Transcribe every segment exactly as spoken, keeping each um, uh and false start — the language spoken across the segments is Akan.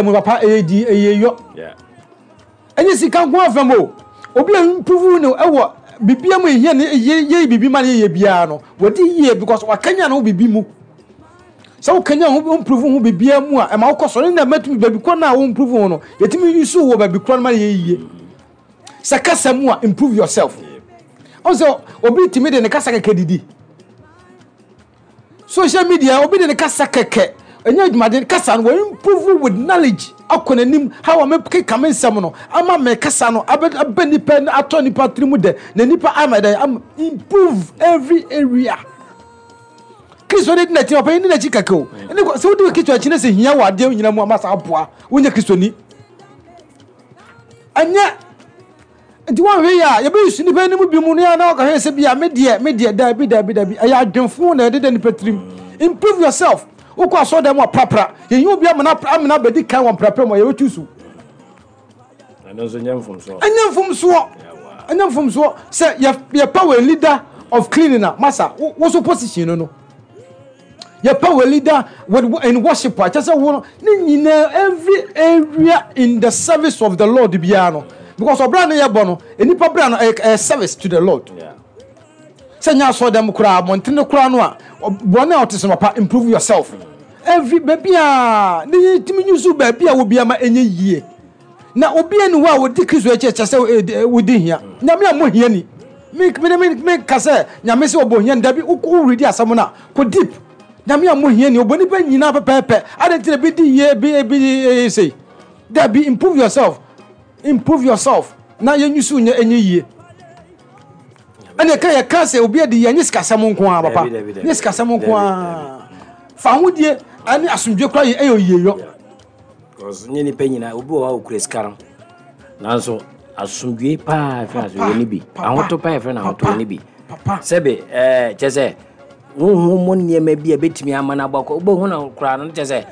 Mu papa, ɛyɛ di ɛyɛ yɔ. Ɛnyɛ sika nko afɛm o. Obi a improve no ɛwɔ bibia mu, ehia ne yɛ yɛ bibi ma ne yɛ biara no, wɔde yie because wakanya ne ho bibi mu. Sɛ wokanya ho, improve ho bibia mu a, ɛma wokɔ so ne na mɛtumi baabi kɔ no a wo improve ho no, yɛtumi use wɔ baabi korɔ no ma yɛ yie. Sɛ kasa mu a, improve yourself. Ɔn sɛ obi tumi de ne kasa kɛkɛ didi social media, obi de ne kasa kɛkɛ ɛnyɛ adwumaden. Kasa no, wɔ improve with knowledge akɔ n'anim. How a mekeka me nsɛm no ama me kasa no abɛ abɛ nipa atɔ nipa tiri mu dɛ na nipa ama dɛ ama improve every area. Kristo de di n'akyi, ɔpɛ di n'akyi kɛkɛ o. Ɛne sɛ wodi Kristo akyi ne sɛ hia wɔ adeɛ nyina mu ama saa aboa wonyɛ Kristo ni ɛnyɛ. Nti wɔnhwɛ yi a, yɛbɛyi su nipa anim bi mu no yɛ na wɔkɔhwɛ sɛ bi a me deɛ me deɛ dabi, dabi, dabi, ɛyɛ adwemfo na ɛde da nipa tirim. Improve yourself. Wokɔ asɔrɔ mu a, prapra. Yɛyi obi amena amena bɛdi kan wɔ mprapra mu a, yɛbɛtu so. Ɛno nso nyɛ mfomsoɔ. Ɛnyɛ mfomsoɔ, ɛnyɛ mfomsoɔ sɛ yɛ yɛpɛ wɔ leader of cleaning a, masa wo so position no no yɛpɛ wɔ leader with in worship a, kyɛ sɛ wo no ne nyinaa, every area in the service of the Lord biara no, because ɔbra no yɛbɔ no, nipa bra no ɛyɛ ɛyɛ service to the Lord. Yeah. Sɛ nyɛ asɔ dɛm koraa, abɔntene koraa no a, bɔne a ɔte sɛ papa, improve yourself every baabi a ne yɛtumi nyusu baabi a wobi ama ɛnyɛ yie. Na obi ani hɔ a wɔdi Kristo akyi kyɛ sɛ wodi hia. Nyame a mo hia ni, me me me me ka sɛ Nyame sɛ ɔbɔ hia ni, dabi. Woredi asɛm no a, kɔ deep. Nyame a mo hia ni, ɔbɔ nipa nyinaa pɛpɛɛpɛ ade nti na bi di yie bi bi bi sei. Dabi, improve yourself, improve yourself na yɛnyusu nyɛ ɛnyɛ yie. Ɛna ɛka yɛka sɛ obi adi yɛ nyɛ sikasɛm nko ara, papa. Dabi, dabi, dabi. Nyɛ sikasɛm nko Dabi, ara. Fa ahodie ɛne asomdwe kora yɛ ɛyɛ oyie yɔ. Because nyɛ nipa nyinaa. Obi wɔ hɔ a okura sika no, nanso asomdwe paa fɛn asomdwe ni bi. Papa, ahotɔ paa yɛfrɛ no ahotɔ papa, ni bi. Papa. Sɛbi ɛɛ kyɛ sɛ huhu mu nneɛma bi a ebetumi ama no abɔ akɔ, wobɛhu no koraa no, kyɛ sɛ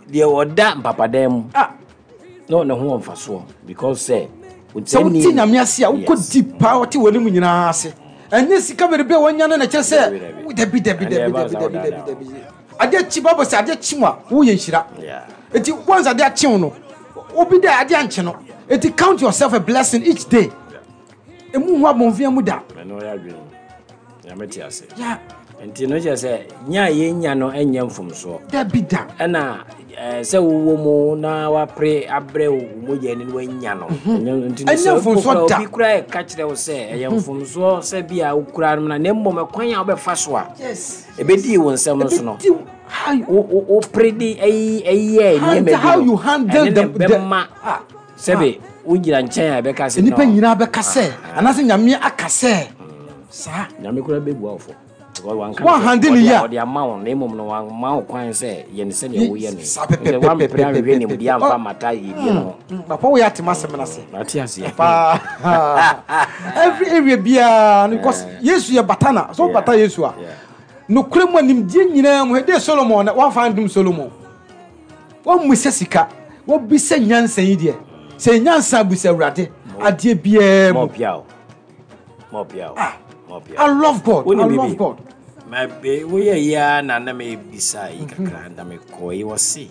deɛ ɔda mpapadan mu ah na ɔne ho wɔ mfasoɔ because sɛ sɛ wote Nyame ase a, wokɔ deep paa, wote w'anim nyinaa ase. Ɛnyɛ sika bebrebe a wɔanya no na kyerɛ sɛ Dabi, dabi, dabi, dabi. Ɛnna ɛba Dabi, saa dabi, wo dabi, daadaa. Dabi. Adeɛ kyi, Bible sɛ adeɛ kyi mu a, woyɛ nhyira. Yeah. Eti once adeɛ akyew no, obi dɛ adeɛ ankye no, eti count yourself a blessing each day. Emu hu abɔnfia mu da. Ɛno ɔyɛ adwene, Nyame te ase. Ya. Nti no kyerɛ sɛ nya a yɛnya no ɛnyɛ mfomsoɔ. Dabi da. Ɛna ɛɛ, sɛ wowɔ mu na wapere abrɛ wo mogya ni na wanya no ɛnyɛ- nti no Ɛnyɛ sɛ mfomsoɔ wokura da. obi kura ɛka kyerɛ wo sɛ ɛyɛ mfomsoɔ sɛ bi a wokura no na na mmom ɛkwan a wobɛfa so a yes ɛbɛdii wo nsɛm no so no, Ebedi how you wo- wo- wopere de ɛyi ɛyɛ nneɛma bi how no, you handle ɛne the ne bɛma ah sɛbe wogyina nkyɛn a, ɛbɛka sɛ nipa no, nyinaa bɛka sɛ anaasɛ Nyame aka sɛ saa. Nyame kora bɛbua wo fɔ. Because wanka Wan sɛ handle ɔde- yie a. Ɔde ama wo na mmom no wamma wo kwan sɛ yɛ ne sɛdeɛ woyɛ no. Saa sɛ pɛpɛpɛpɛpɛpɛ. wampere anhwehwɛ nimdeɛ amfa mata yɛdie no ho. Mm, papa, woyɛ atema asɛm no ase. Mate aseɛ. Paa, every area biara no, because Yesu yɛ bata na sɛ wobata Yesu a, Yeah. nokorɛ mu a, nimdeɛ nyinaa mu de Solomon na wamfa ndom Solomon. Wammisa sika, wabisa nyansa. Yi deɛ, sɛ nyansa bisa Awurade adeɛ biara mu. Mɔpia o, mɔpia o. Ah, mɔpia. I love God. Wonim I biribi? love God. Ma be woyɛ yi ara na na mebisa yi kakra na mekɔɔ yi, wɔ se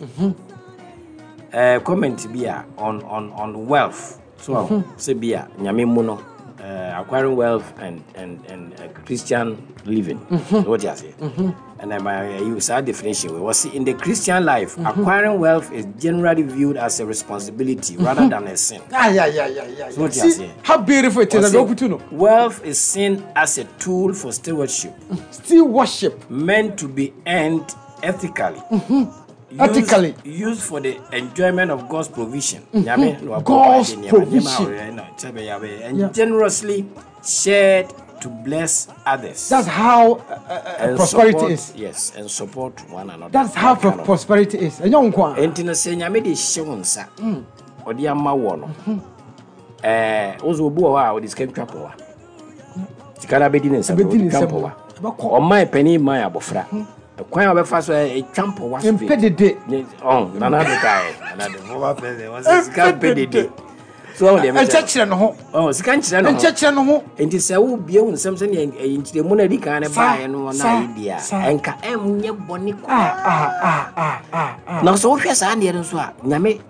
eh, comment bi a on, on, on wealth so sɛ bi a Nyame mu no, uh, acquiring wealth and, and, and uh, Christian living. What you say? And I use that definition. We see in the Christian life, acquiring wealth is generally viewed as a responsibility rather than a sin. Ah, yeah, yeah, yeah, yeah. So what you See say? how beautiful it is. Ɔse, Ɔse, no. wealth is seen as a tool for stewardship, stewardship, meant to be earned ethically. Used- Ethically. Used for the enjoyment of God's provision. Nyame na wabɔ God's mpaeɛ nneɛma, provision. nneɛma a ɔyɛ na kyɛ bɛyɛ abɛyɛ. And Yeah. generously shared to bless others. That's how uh, uh, And prosperity support, is. Yes, and support one another. That's how That kind of- prosperity is. Ɛnyɛ wo nko a. Enti no sɛ Nyame de hyɛ wo nsa, ɔde ama wɔ no, ɛɛ wo sɛ obi wɔ hɔ a ɔde sika ntwa pɔwa, sika no abɛdi ne nsa, Ɛbɛdi ne ɔde twa nsam. mpɔwa. Ɛbɛkɔ. Ɔman panin man abɔfra, ɛkwan a wɔbɛfa so ɛ, ɛtwa mpɔwa straight. Mpɛ dede. Ne- ɔn Nana de kae, Nana de former president, wɔsɛ sika mpɛ dede. So wɔn deɛ mekyerɛ. Nkyɛkyerɛ ne ho. Ɔn sika nkyerɛ ne ho. Nkyɛkyerɛ ne ho. Nti sɛ wobie wo nsɛm sɛnea ɛyi nkyerɛmu no adi kan no Saa, baeɛ no na saa, ayɛ di a, saa. ɛnka ɛnyɛ bɔne Ah, koraa. ah, ah, ah, ah, ah. Na sɛ wohwɛ saa ndeɛ no nso a, Nyame.